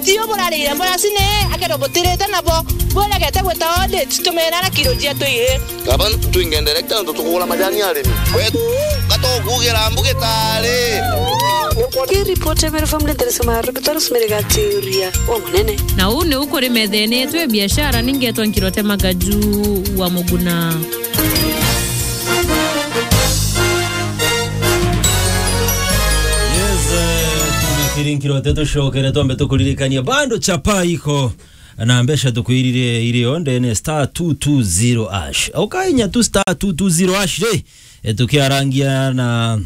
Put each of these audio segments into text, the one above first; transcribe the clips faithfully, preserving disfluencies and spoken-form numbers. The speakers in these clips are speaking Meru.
Tio burarire muracini, akero butirite nabo, buregete gwita audit, tumena na kiro cia tuiri. Gavana, twinge director, nontu tukugura majani arimi. Wetu, gatokugira mbuge tari. Ki report ya Meru Family Interest Maru, Peter Rosemary Gatiuria, wa munene. Na uu niu kuri methenetwe biashara ningetwa nkirote magaju wa muguna. Yes, eh, tunakirinkirote tucokere twambe tukuririkania bado chapa iko na mbeca tukwirire irio ndene star two two zero hash. Ukainya tu star two two zero hash ri, eh, tukiarangia na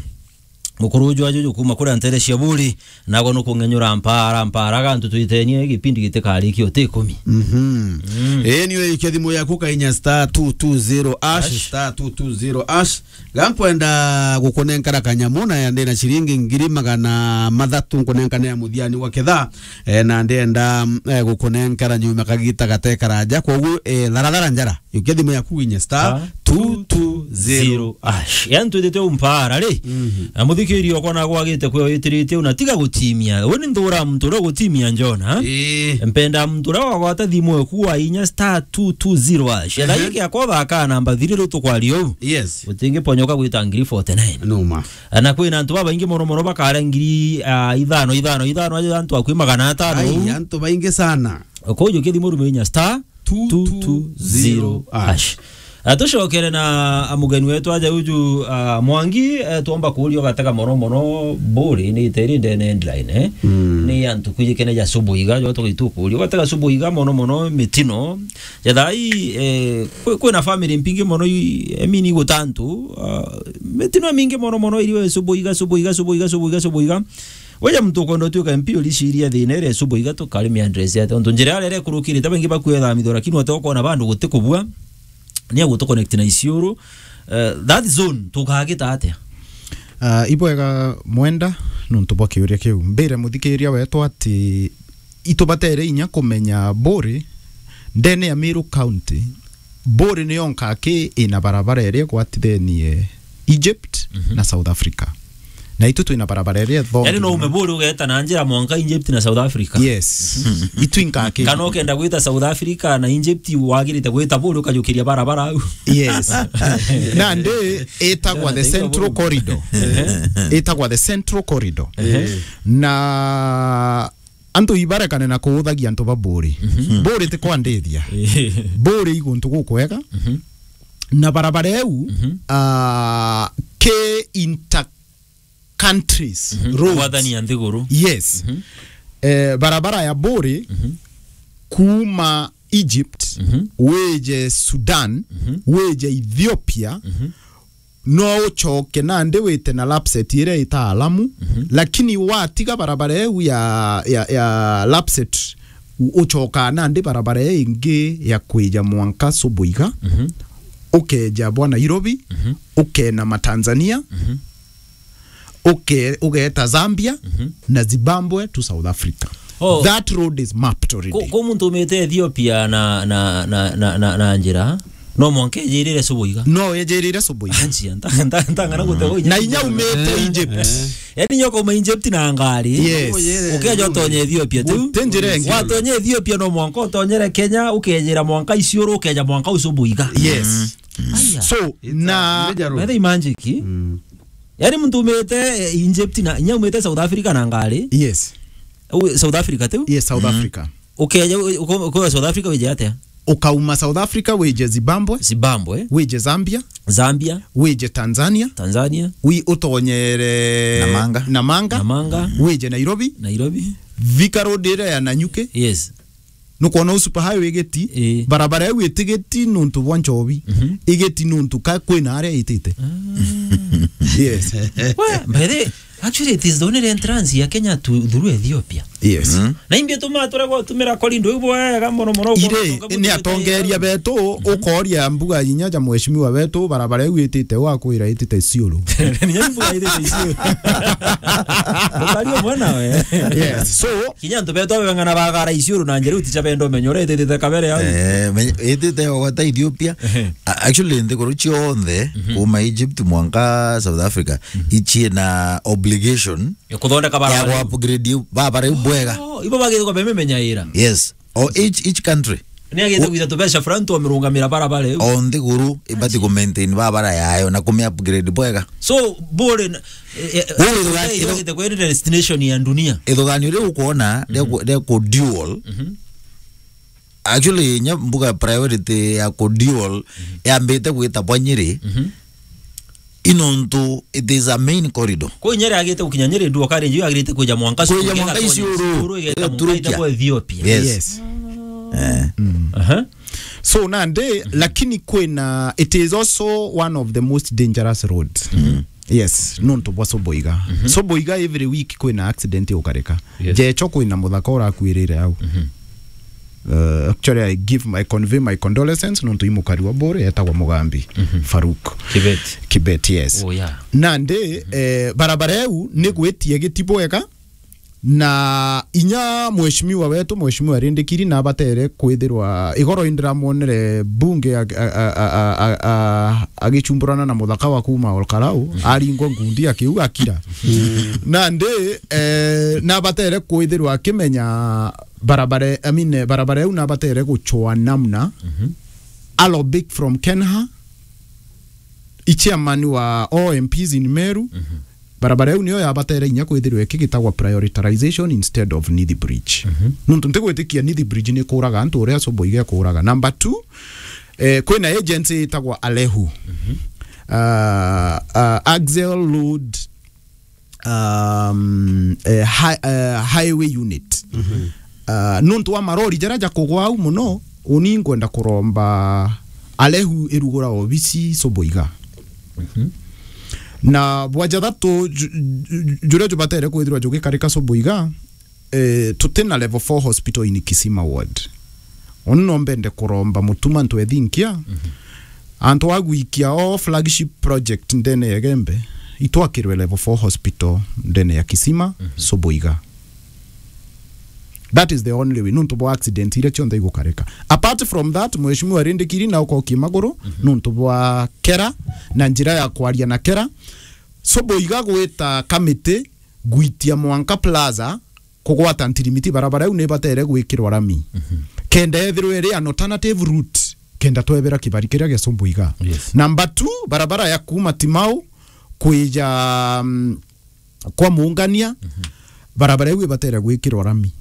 mukuru uju ajuju kuma kuria ntere cia Buri, nagwa nukung'enyura mpara, mpara, gantu twitenie gipindi gitikarikia uti ikumi. Mhm. Mm. Ii, ni uikia thimu yaku ukainya star two two zero hash, hash, star two two zero hash. Ga nkwenda gukunenkara kanyamu na ya ndina ciringi ngiri magana mathatu nkunenkane ya muthiani wa ketha, eh, na ndienda, eh, gukunenkara nyuma kagita gatekaraja. Kwogu, eh, tharathara njara. Yukia thimu yaku winye star two two zero hash. Yani twithite umpara ri. Mhm. Na muthikiria okwa na gwagite kwe witiritie una tiga gutimia. We ni nthura muntu uria gutimia njona. Ii. Mpenda muntu uria wagwata thimu eku wa inya star two two zero hash. Ehe. Thaiki akwa thaka namba thiri ri tukwaria u. Yes. Utingiponyoka gwita ngiri forty nine. Numa. Na kwina antu babaingi mono mono bakara ngiri, ah, ithano, ithano, ithano, aja antu akwi magana atano. Ai, antu baingi sana. Kwoguo kithi murume inya star two two zero hash. Ah, tucokere na, ah, mugeni wetu aja uju, ah, Mwangi, eh, twomba kuuria ugatega mono mono Buri ni iteri ndene headline, eh? Mm. Ni antu kwijikene ja subu iga, jo tugitu kuuria. Ugatega subu iga mono mono mitino. Ja thai, eh, kwi-, kwina family mpingi mono i, I mean, igutantu, ah, mitino mingi mono mono iri we subu iga, subu iga, subu iga, subu iga, subu iga. Weja muntu ukwenda utuika M P uriciria thina iria subu iga tukari mi address ate. Ontu njira iria ikurukirite baingi bakwetha mitho, lakini wate ukona bandu guti kubua. Ni agutu connect na Isiolo. Eh, that zone tukagita atia? Ah, ibwega Mwenda, nontu bwa kiuria kiu. Mbire muthikiria wetu ati itubatere inya kumenya Buri, ndene ya Meru County, Buri niyo nkaki ina barabara iria igwatithenie Egypt, mhm, na South Africa. Na itu twina barabara iria thongi. Yani no ume Buri ugeta na njira mwanka Egypt na South Africa. Yes. Itu inkaki. Kana ukenda gwita South Africa na Egypt, wagirite gwita Buri ukajukiria barabara au. Yes. Nandi itagwa the Central Corridor. Ehe. Itagwa the Central Corridor. Ehe. Na antu ibarekane na kuuthagia antu ba Buri. Mhm. Buri ti kwandithia. Ehe. Buri i guntu gukwega. Mhm. Na barabara iu, mhm, ah, ki inter countries, mhm, roads. Gwathania nthiguru. Yes. Mhm. Eh, barabara ya Buri, mhm, kuma Egypt, mhm, wije Sudan, mhm, wije Ethiopia, mhm, no ucoke nandi wite na Lapset iria itaalamu, mhm, lakini watiga barabara iu ya, ya, ya Lapset, u-, ucokaa nandi barabara iu ingi ya kwija mwanka Subuiga, mhm, ukeja bwa Nairobi, mhm, ukena ma Tanzania, mhm, uke-, ugeeta Zambia, mhm, na Zimbabwe to South Africa. Oh. That road is mapped already. Ku-, ku muntu umite Ethiopia na, na, na, na, na, na njira, no mwanka ejirire Subuiga. No ejirire Subuiga. Anjia, nta-, nta-, ntang'ana gutega inya. Na inya umite Egypt. Eh. Yani inya ukauma Egypt na ngari. Yes. Ukeja utonye Ethiopia tu. Guti njira ingi. Watonye Ethiopia no mwanka utonyere Kenya, ukejira mwanka Isiolo, ukeja mwanka Subuiga. Yes. Mm. Aya. So, it's a na major road. By the way, magic. Mm. Yani muntu umite, eh, Egypt na, inya umite South Africa na ngari. Yes. U-, South Africa tu? Yes, South Africa. Ukeja, u-, uko-, uko South Africa wije atia? Ukauma South Africa wije Zimbabwe. Zimbabwe. Wije Zambia. Zambia. Wije Tanzania. Tanzania. Wi-, utonyere Namanga. Namanga. Namanga. Wije Nairobi. Nairobi. Thika Road iria ya Nanyuki. Yes. Nukwona u super highway igiti, ii, barabara iu itigiti nuntu bwa nchobi, mhm, igiti nuntu ka kwina aria itite. Ah. Yes. Well, by the way, actually, it is the only entrance ya Kenya to, through Ethiopia. Yes. Mhm. Na imbi tuma tore gwa tumira korindo iu bwega mono mono. Ire, ni atongeria betu, mhm, ukoria mbuga inya ja mheshimiwa wetu, barabara iu itite, wakwira itite Isiolo. Ni mbuga itite Isiolo. Ukario mwana we. Yes. So, kinya antu betu abeng'ana bagara Isiolo na njira uticha benda umenye uria ititite kabere au. Eh, menye-, itite yogwata Ethiopia. Ehe. A-, actually, nthiguru cionthe, mhm, kuma Egypt mwanka South Africa, mhm, ichie na ob-, obligation Ya kuthondeka ya barabara iu. Ku-upgrade iu, barabara iu bwega. Oh, ibo bagithagwa bememenyaira. Yes. O each, each country. Ni agite O- gwitha tubeca fulani twamirungamira barabara iu. O nthiguru ibati ku-maintain barabara yayo na kumi-upgrade bwega. So, bure na, eh, eh, Bure ithuga-, ithuga-, ithuga-, ithuga-, kwenda destination ya dunia. Ithuganio riu ukwona, Mhm. ria ku-, ria ku dual. Mhm. Actually, nya mbuga priority ya ku dual Mhm. yambite gwita bwa Nyeri. Mhm. Inontu it is a main corridor. Kwi Nyeri agite gukinya Nyeri, dual carriage agirite kwija mwanka Kwija Sudan, mwanka igatonya Isiolo. Isiolo, igeta Eh, mwanka Ethiopia. Yes. Yes. Eh. Aha. So nandi, lakini kwina, it is also one of the most dangerous roads. Yes, nontu bwa Soboiga. Soboiga every week kwina accident ukarika. Yes. Jecho kwina muthaka urakuirire au. Uh, actually, I give my, I convey my condolences nontu imukari wa Bore etagwa Mugambi Farouk Kibet. Kibet, yes. Oh, yeah. Nandi, eh, barabara eu ni gwitie giti bwega, na inya mheshimiwa wetu, mheshimiwa Rindikiri, na abatere kwithirwa igoro indiramwonere bunge ag-, a-, a-, a-, a-, a-, agicumburana na muthaka wa kuma Olkarau, aringwa ngundi akiuga akira. Nandi, eh, na abatere kwithirwa akimenya barabara, I mean, barabara iu nabatere guchwa namna. Alo Big from Kenha, i chairman wa all M Ps in Meru, barabara iu niyo yabatere inya kwithirwa ikigitagwa prioritization instead of Nithi Bridge. Nontu ntigwitikia Nithi Bridge ni kuraga antu uria Soboiga kuraga. Number two, eh, kwina agency itagwa Alehu. Ah, ah, Axle Load um, eh, hi-, eh, highway unit. Ah, nontu wa marori jaria jakugwa au muno, uni ngwenda kuromba Alehu irugura obisi Soboiga. Na bwa jathatu, ju-, ju-, juria jubatere kwithirwa jugikarika Soboiga, eh, tutina level four hospital in Kisima ward. Uni no mbende kuromba Mutuma Ntwethinkia, antu a gwikia o flagship project ndene ya Igembe, itwakirwe level four hospital ndene ya Kisima, Soboiga. That is the only way, nontu bwa accident iria cionthe igukarika. Apart from that, Mheshimiwa Rindikiri na ukokie maguru, nontu bwa KeRRA, na njira ya kwaria na KeRRA. Soboiga gwita kamiti, gwitia mwanka plaza, kugwata ntirimiti, barabara iu nibatere gwikirwa rami. Kenda ethirwe iri an alternative route, kenda twebera kibari kiria gia Soboiga. Yes. Number two, barabara ya kuma Timau kwija, mm, kwa Muungania, barabara iu ibatere gwikirwa rami.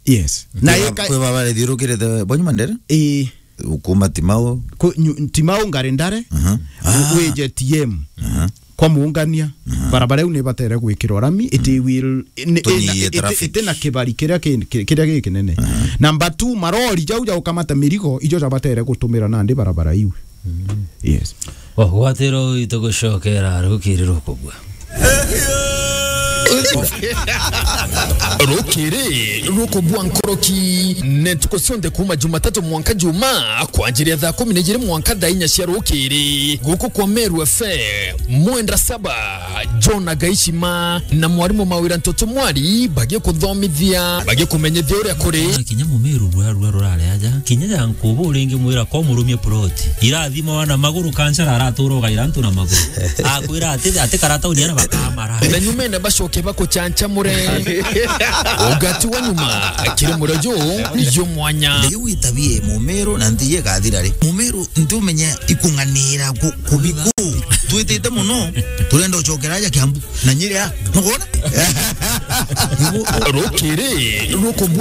Yes. Na Kwi ba-, ika- kwi barabara ithiurukirite bwa nyuma ndere? Ii. Kuma Timau. Ku-, nyu-, Timau Ngari Ndare, aha, wije T M. Aha. Kwa Muungania, aha, barabara iu nibatere gwikirwa rami, iti will, ni-, Tunyihie ina-, iti-, traffic. Iti na kibari kiria ki-, ki-, kiria gikinene. Aha. Number two, marori jau ja gukamata mirigo, ijo jabatere gutumira nandi barabara iu. Yes. Ogwatiro itugucokera rukiri rukubua. Rukiri rukubua nkoroki, ne ntuku cionthe kuma Jumatatu mwanka Juma, kwanjiria thaa kumi na ijiri mwanka thaa inya cia rukiri, guku kwa Meru F M, mwenda saba, John Agaishima na mwarimu Mawira Ntoto Mwari bagikuthomithia, bagikumenyithia uria kuri. Kinya mumiru rua, rua rurare aja, kinya ya nkubu uringi mwira ko murumie plot. Irathimwa na maguru, kancara aratura ugaira antu na maguru. Akwira ati, ati karata unyana bakamara. Na nyumene bacoke bakuchanchamure. Ugati wa nyuma, kiri murojo, yo mwanya. Riu itabie mumiru na nthi igathira ri. Mumiru nti umenya ikung'anira ku-, kubiku. Twitite muno, turenda ucokera aja Kiambu. Na Nyeri a, nukwona? Rukiri, ruku